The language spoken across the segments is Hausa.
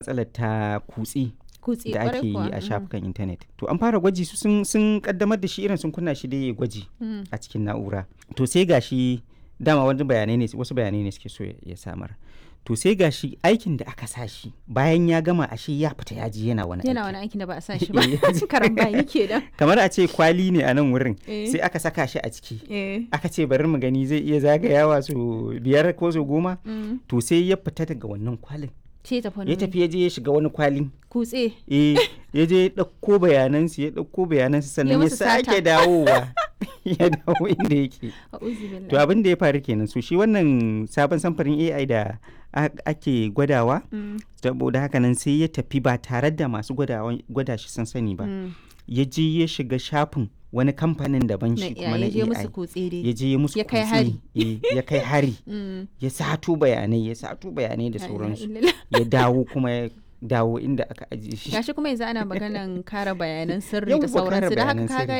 Matsalar ta kutse Kutse da kwarai ake yi kuwa. a shafukan intanet. To an fara gwaji su sun kaddamar da shi, irin sun kunna shi dai ya gwaji a cikin na'ura. To sai gashi dama wani bayanai ne, wasu bayanai ne suke so ya samar. To sai gashi aikin da aka sa shi, bayan ya gama ashe ya fita ya je yana wani Yana aiki. wani aikin da ba a sa shi ba. Eh, ya je- Karambani kenan. Kamar a ce kwali ne a nan wurin, sai aka saka shi a ciki. Aka ce bari mu gani zai iya zagayawa su 5 ko su 10. To sai ya fita daga wannan kwalin. Ce tafi wani Ya wuri. tafi ya je ya shiga wani kwalin. Kutse. Eh, ya je ya ɗauko bayanansu, ya ɗauko bayanansu, sannan ya musu sata. sake dawowa, ya dawo inda yake. A'udhu billahi. To abin da ya faru kenan. So shi wannan sabon samfurin AI da ake gwadawa, saboda haka nan sai ya tafi ba tare da masu gwada shi sun sani ba, ya je ya shiga shafin wani kamfanin daban, Na shi kuma na ya je musu AI, kutse dai. ya je ya musu Ya kai kutse, hari. eh, ya kai hari, ya sato bayanai, ya sato bayanai da La ilaha sauransu, illallah. ya dawo kuma, ya dawo inda aka ajiye shi. Gashi kuma yanzu ana maganan kare bayanan sirri Yawwa, da kare sauransu, da haka bayanan kaga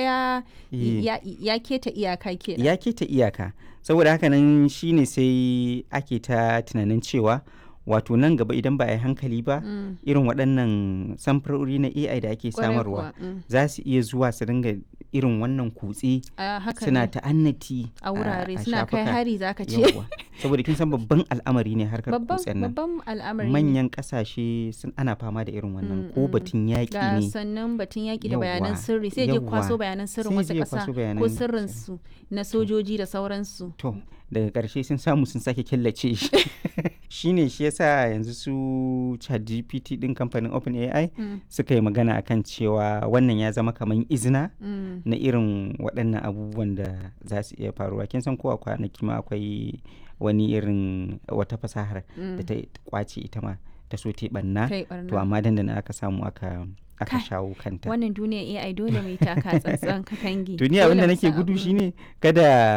sirri. ya Eh. ya keta iyaka kenan. Ya keta iyaka. Saboda haka nan shine sai ake ta tunanin cewa wato nan gaba idan ba a yi hankali ba, irin waɗannan samfurori na AI da ake Kwarai samarwa kuwa, za su iya zuwa su dinga irin wannan kutse, A haka suna ne. ta'annati A wurare a suna kai shafuka. hari zaka ce. Yawwa. Saboda kin san babban al'amari ne harkar Babban kutsen nan. babban al'amari ne. Manyan ƙasashe sun ana fama da irin wannan, ko batun yaƙi Ga ne. sannan batun yaƙi da bayanan Yawwa, sirri, sai je kwaso yawwa. bayanan sirrin Sai wata je ya ƙasa kwaso ko bayanan sirri. sirrinsu na sojoji da sauransu. To daga ƙarshe sun samu sun sake killace shi. Shine shi yasa yanzu su ChatGPT din kamfanin OpenAI suka yi magana akan cewa wannan ya zama kamar izina na irin waɗannan abubuwan da za su iya faruwa. Kin san ko a kwanaki ma akwai wani irin wata fasahar da ta kwace, ita ma ta so ta yi ɓanna. Ta yi To ɓarna. amma dandana aka samu aka Kai, shawo kanta. wannan duniyar AI dole mu yi taka tsantsan katangi. To ni abin Dole da mu nake san gudu abu. shine kada